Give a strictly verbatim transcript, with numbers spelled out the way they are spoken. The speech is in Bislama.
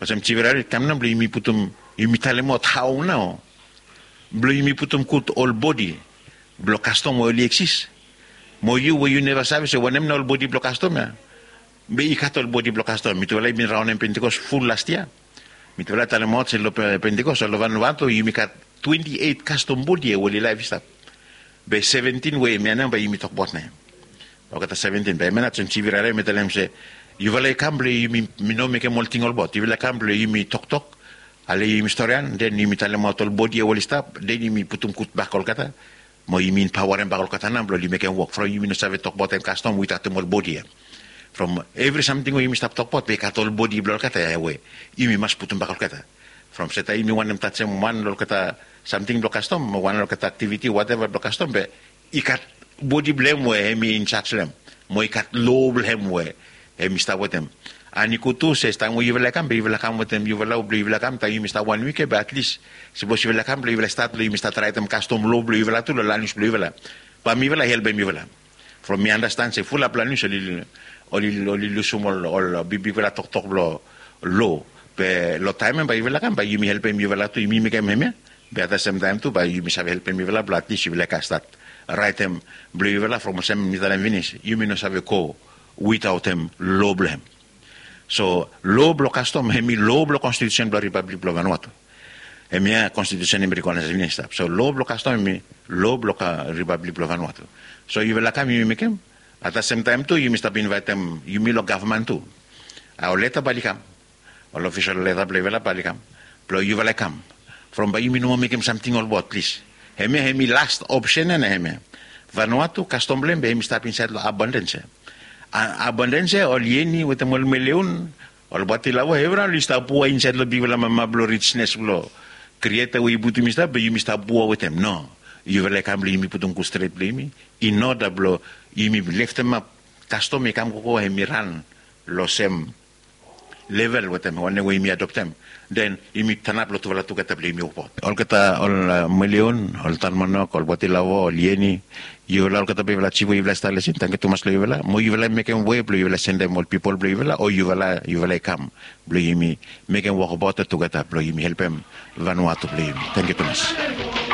Olsem jivirari kam nao blong yumi putum, yumi talemaot hao nao blong yumi putum gud ol bodi blong kastom we oli eksis. Mo yu we yu neva save se wanem nao ol bodi blong kastom ya. Be i gat ol bodi blong kastom. Mitufala i bin raonem pentikos ful last yia. Mitufala talemaot se long pentikos long vanvatu yumi gat twenti eit kastom bodi ya we oli laef i stap. Be seventin we hemia nao bae yumi tokbaot nao ya. Olgeta seventin bae hemia nao olsem jivirari mi talem se yufala i kam blong yumi, mi no mekem ol ting olbaot. Yufala i kam blong yumi toktok ale yumi storian den yumi talemaot ol bodi ya we oli stap den yumi putum gud bak olgeta. Mo yumi paoarem bak olgeta nao blong oli mekem wok from yumi no save tokbaotem kastom witaotem ol bodi ya. From evri samting we yumi stap tokbaot be i gat ol bodi blong olgeta ya we yumi mas putum bak olgeta. From se taem yumi wantem tajem wan long olgeta samting blong kastom o wan long olgeta aktiviti wateva blong kastom be i gat bodi blong hem we hem i insaj long hem mo i gat lo blong hem we hem i stap wetem. An i gud tu se taem we yufala i kam be yufala kam wetem yufala blong yufala kam taem yumi stap wan wik ya be atlis sapos yufala kam blong yufala stat blong yumi stat raetem kastom lo blong yufala tu long lanwis blong yufala. Bae mifala i helpem yufala. From mi andastan se fulap lanwis oli lusum ol bigbigfala toktok blong lo. Be long taem ya bae yufala kam bae yumi helpem yufala tu yumi mekem hemia. Be ata semtaem tu bae yumi save helpem yufala blong atlis yufala i kam stat raetem blong yufala from olsem mi talem finis yumi no save go witaotem lo blong hem. So lo blong kastom hem i lo blong konstitusen blong ripablik blong vanvatu. Hemia konstitusen hem i rekonaes finis stap so lo blong kastom hem i lo blong ripablik blong vanvatu. So yufala kam yumi mekem ata semtaem tu yumi stap invaetem yumi long gavman tu. Ol leta bae oli kam ol ofisol leta blong yufala bae oli kam blong yufala i kam from bae yumi no moa mekem samting olbaot plis. Hemia hem i last opsen ya na hemia. Vanvatu kastom blong hem be hem i stap insaed long abandens ya. Abandens ya ol yeni wetem ol meleon ol batilavo evriwan oli stap pua insaed long bigfala mama blong rijnes blong krieta we i putum i stap be yumi stap pua wetem no. Yufala i kam blong yumi putum gud stret blong yumi in oda blong yumi leftemap kastom i kam gogo hem i ran long sem level wetem wanem we yumi adoptem. Den yumi tanap long tufala tugeta blong yumi wokbaot olgeta ol meleon ol tanmanok ol batilavo ol yeni yufala olgeta blong yufala jif we yufala i stap lesin tangkiu tumas long yufala mo yufala i mekem we blong yufala sendem ol pipol blong yufala o yufala yufala i kam blong yumi mekem wokbaot tugeta blong yumi helpem vanvatu blong yumi. Tangkiu tumas.